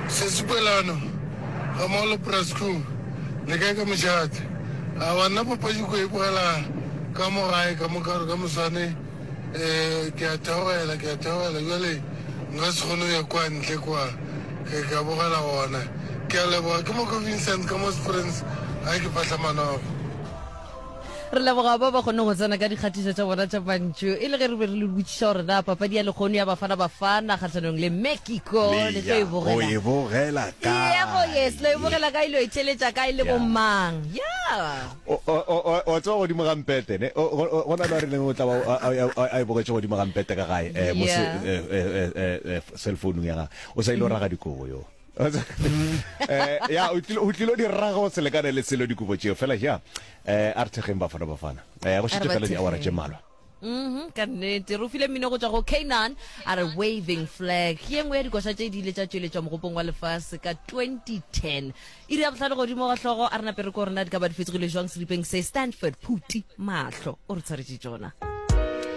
Sesipelano ga mmogo le Prasco le kae ka mošate? Aowa nna papadi ko e bogela ka mo gae ka mo ka gore ka moswane um ke a theogela ke a theogela bjale nka se kgone go ya kwa ntle kwa ke ka bogela gona. Ke a leboga ke Moko Vincent ka mo Springs ga ke fahla manoga. Re leboga ba ba kgoneng go tsena ka dikgatišo tša bona tša mantšu e le ge re be re le botšiša gore na papadi ya lekgono ya Bafana Bafana kgahlanong le Mexico le tlo e bogela. O e bogela kae? Yebo, yes, lo e bogela kae, lo e theeletša kae le bomang? Yeah. O tseba godimo ga mpete ne go na le a rileng o tla ba a e bogetše godimo ga mpete ka gae mo cell phone ya gagwe o sa ile o raga dikobo yo. Eh, ya o tlilo o tlilo di raga go se lekane le selo dikobo tšeo fela ja eh a re thekgeng bafana bafana eh go šetše fela diawara tše mmalwa Mhm, ka nnete re o file mmino go tšwa go K'naan a re waving flag ke ye nngwe ya dikoša tše di ile tša tšweletšwa mogopong wa lefase ka 2010 iri ya bohlano godimo ga hlogo a re nape re ko rena di ka ba di fetogile jwang seripeng se Stanford Phuti mahlo o re tshwaretše tšona.